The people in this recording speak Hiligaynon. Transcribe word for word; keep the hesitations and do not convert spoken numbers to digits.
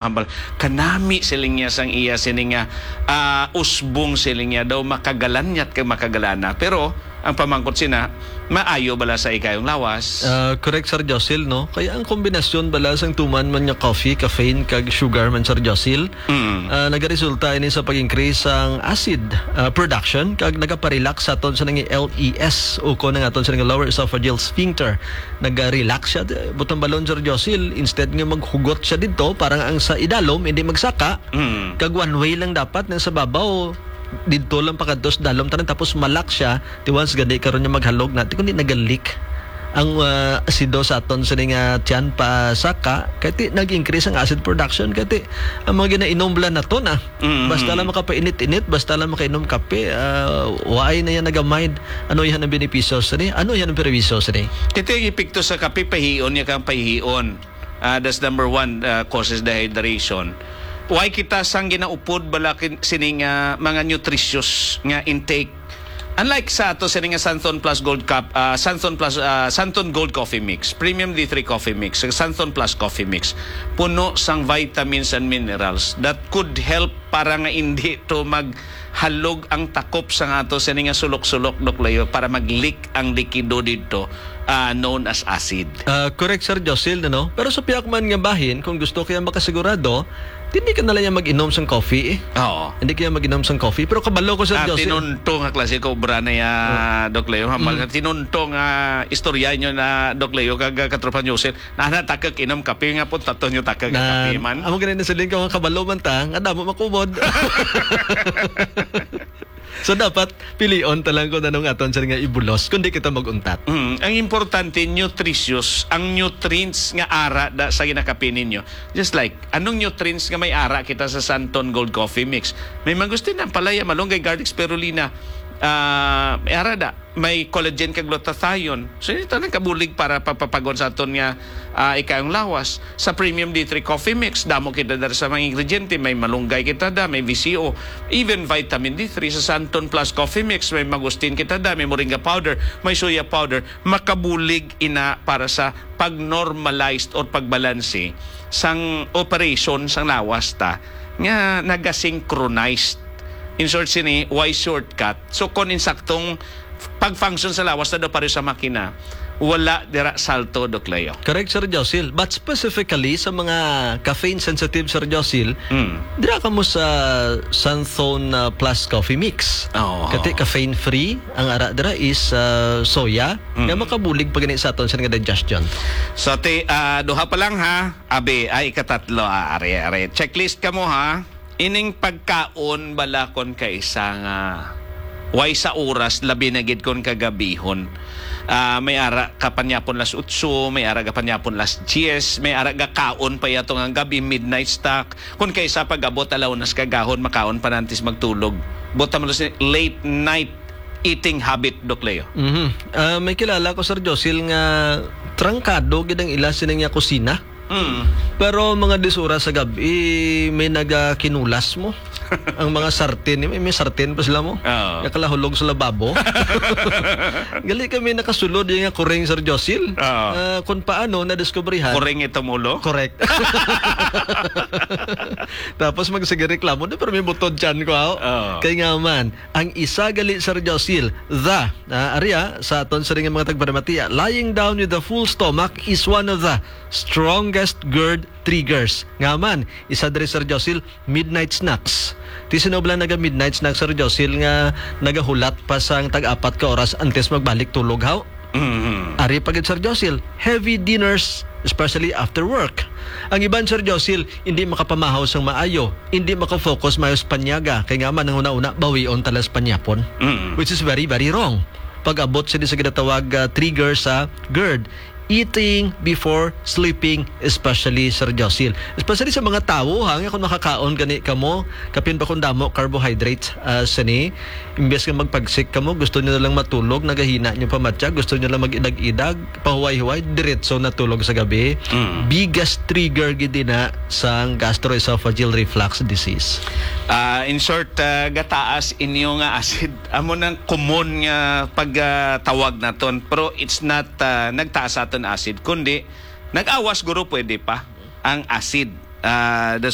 Hambal, kanami siling niya sang iya sini nga, ah, usbong siling niya daw makagalanyat kag makagalana. Pero ang pamangkot sina, maayo bala sa ikayong lawas? Ah, correct, Sir Josil, no? Kaya ang kombinasyon bala sang tuman man nga coffee, caffeine, kag sugar man, Sir Josil, Mm. ah, nagaresulta ini sa pag-increase sang acid, ah, production, kag nagaparelax sa aton sa nang L E S, o kon ang aton sa nang lower esophageal sphincter. Naga-relax siya. Butang balon, Sir Josil, instead nga maghugot siya dito, parang ang sa idalom, hindi magsaka, Mm. kag one way lang dapat, nang sa babaw, didto lang pakadto sa dalom tanan, tapos malak siya, ti once gani karon niya maghalog na, ti kundi nagalik ang, ah, asido sa aton sini nga tiyan pa saka, kay ti nag-increase ang acid production, kay ti ang mga ginainom bala nato na, Mm. basta lang makapainit-init, basta lang makainom kape, ah, waay na yan nagamind. Ano yan ang benepisyo sini? Ano yan ang perwisyo sini? Ito yung epekto sa kape, pahion niya kang pahion. Ah, that's number one, ah, causes dehydration. Why kita sang ginaupod bala kin-, sini nga mga nutritious nga intake? Unlike sa ato sini nga Santon Plus Gold Cup, ah, Santon Plus, ah, Santon Gold Coffee Mix, Premium D three Coffee Mix, ug Santon Plus Coffee Mix, puno sang vitamins and minerals that could help para nga hindi to maghalog ang takop sang ato sini nga sulok-sulok, Doc Leo, para mag-leak ang likido didto, ah, known as acid. Ah, correct, Sir Josil, no? Pero sa pihak man nga bahin, kung gusto kaya makasigurado, hindi ka na lang mag-inom sang coffee, eh. Oo. Hindi kaya mag-inom sang coffee. Pero kabalo ko, Sir Ah, Josil. Tinunto nga klase ko, obra na ya, Oh. Doc Leo. Hambal Mm. nga tinunto nga istorya nyo na, Doc Leo, kag, ah, Katropa Josil. Na, na, takag inom kape nga po, tato nyo takag Na, kape man. Amo gani na siling ko nga kabalo man ta, nga damo makumod. So, dapat pilion ta lang kung anong aton siya nga ibulos, kundi kita mag-untat. Mm, ang importante, nutritious, ang nutrients nga ara da sa ginakape ninyo. Just like, anong nutrients nga may ara kita sa Santon Gold Coffee Mix? May mangustin, ampalaya, malunggay, garlic, spirulina, ah, may ara da, may collagen kag glutathione. So, ito nang kabulig para papapagon sa aton nga, ah, ikayong lawas. Sa Premium D three Coffee Mix, damo kita dara sa mga ingrediente. May malunggay kita da, may V C O, even vitamin D three. Sa Santon Plus Coffee Mix, may mangustin kita da, may moringa powder, may soya powder. Makabulig ina para sa pag-normalized or pagbalanse sang operation sang lawas ta nga naga-synchronized. In short, sini, why shortcut? So, kung insaktong pag-function sa lawas na daw pareho sa makina, wala dira salto, Doc Leo. Correct, Sir Josil. But specifically sa mga caffeine sensitive, Sir Josil, Mm. dira ka mo sa Santhone, uh, Plus Coffee Mix. Oo. Kati caffeine free, ang ara dira is, uh, soya, Mm. nga makabulig pa gani sa aton sa nga digestion. So, ti, ah, duha pa lang, ha. Abi, ay, ikatatlo, ah, are, are. Checklist ka mo, ha. Ining pagkaon bala kon kaisa nga way sa oras, labi na gid kon kagabihon. Ah, may ara ka panyapon las otso, may ara ka panyapon las diyes, may ara ka kaon pa yato nga gabi, midnight snack. Kon kaisa pag-abot alaw nas kagahon, makaon pa nantis magtulog. Buta mo si late night eating habit, Doc Leo. Mhm. Ah, may kilala ko, Sir Josil, nga trangkado gid ang ila sining nga kusina. Mm. Pero mga dis oras sa gab-i, may nagakinulas mo. Ang mga sartin, may, may sartin pa sila mo. Oo. Nakalahulog sa lababo. Gali kami nakasulod yung nga kuring, Sir Josil. Oo. Ah, kung paano nadiskubrihan. Kuring itong ulo? Correct. Tapos magsige reklamo, "Di, pero may butod tiyan ko, ah." Oo. Kay nga man, ang isa gali, Sir Josil, the, ah, aria, sa aton sa ring mga tagparamatiya, lying down with a full stomach is one of the strongest GERD triggers. Nga man, isa diri, Sir Josil, midnight snacks. Ti sino bala naga midnight snacks, Sir Josil, nga nagahulat pa sang tag-apat ka oras antes magbalik tulog, haw? Mhm. Ari pa gid, Sir Josil, heavy dinners, especially after work. Ang iban, Sir Josil, hindi makapamahaw sang maayo, hindi makafocus maayo sa panyaga, kay nga man ang una-una, bawion tala sa panyapon, Mm. which is very, very wrong. Pag-abot sini sa ginatawag, ah, trigger sa GERD, eating before sleeping, especially, Sir Josil. Especially sa mga tawo, ha, nga kung makakaon gani kamo, kapin pa kung damo carbohydrates, ah, sini, imbes nga magpagsik kamo, gusto nyo na lang matulog, nagahina nyo pa matya, gusto nyo lang mag-idag-idag, pahuway-huway, diretso na tulog sa gabi. Mm. Biggest trigger gid na sang gastroesophageal reflux disease. Ah, in short, ah, gataas inyo nga acid. Amo nang common nga pagtawag naton. Pero it's not, ah, nagtaas aton acid, kundi nag-awas, guro, pwede pa ang acid. ah, the